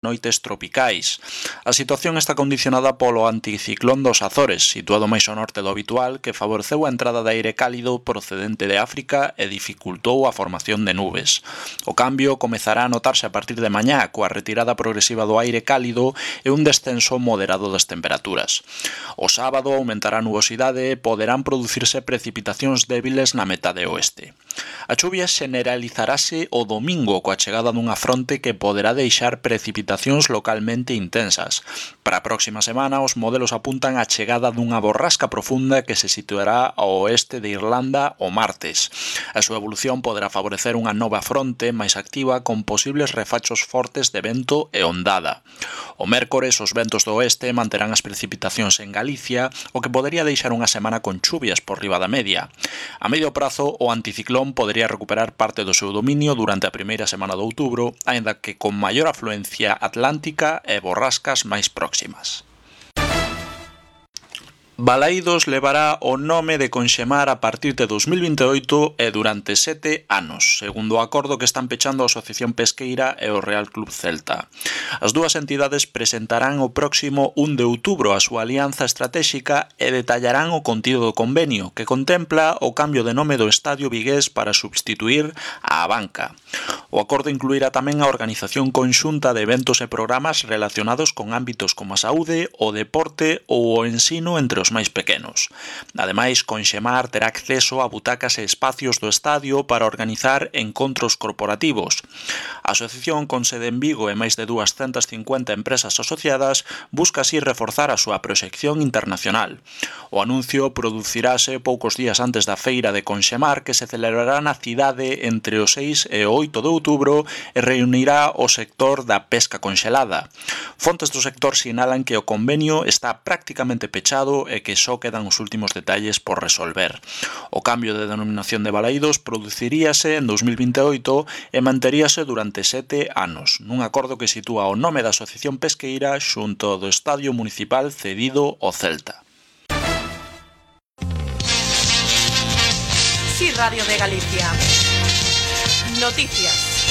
noites tropicais. A situación está condicionada polo anticiclón dos Azores, situado máis ao norte do habitual, que favoreceu a entrada de aire cálido procedente de África e dificultou a formación de nubes. O cambio comezará a notarse a partir de mañá, coa retirada progresiva do aire cálido e un descenso moderado das temperaturas. O sábado aumentará a nubosidade e poderán producirse precipitacións débiles na metade oeste. A chuvia generalizarase o domingo coa chegada dunha fronte que poderá deixar precipitacións localmente intensas. Para a próxima semana, os modelos apuntan á chegada dunha borrasca profunda que se situará ao oeste de Irlanda o martes. A súa evolución poderá favorecer unha nova fronte máis activa con posibles refachos fortes de vento e ondada. O mércores, os ventos do oeste manterán as precipitacións en Galicia, o que podería deixar unha semana con chuvias por riba da media. A medio prazo, o anticiclón podería recuperar parte do seu dominio durante a primeira semana de outubro, aínda que con maior afluencia atlántica e borrascas máis próximas. Balaídos levará o nome de Conxemar a partir de 2028 e durante 7 anos, segundo o acordo que están pechando a Asociación Pesqueira e o Real Club Celta. As dúas entidades presentarán o próximo 1 de outubro a súa alianza estratéxica e detallarán o contido do convenio, que contempla o cambio de nome do Estadio Vigués para substituir a Abanca. O acordo incluirá tamén a organización conxunta de eventos e programas relacionados con ámbitos como a saúde, o deporte ou o ensino entre os máis pequenos. Ademais, Conxemar terá acceso a butacas e espacios do estadio para organizar encontros corporativos. A asociación, con sede en Vigo e máis de 250 empresas asociadas, busca así reforzar a súa proxección internacional. O anuncio producirase poucos días antes da feira de Conxemar, que se celebrará na cidade entre o 6 e o 8 de outubro e reunirá o sector da pesca conxelada. Fontes do sector sinalan que o convenio está prácticamente pechado e que só quedan os últimos detalles por resolver. O cambio de denominación de Balaídos produciríase en 2028 e manteríase durante 7 anos, nun acordo que sitúa o nome da Asociación Pesqueira xunto do Estadio Municipal cedido ao Celta. Sí, Radio de Galicia. Noticias.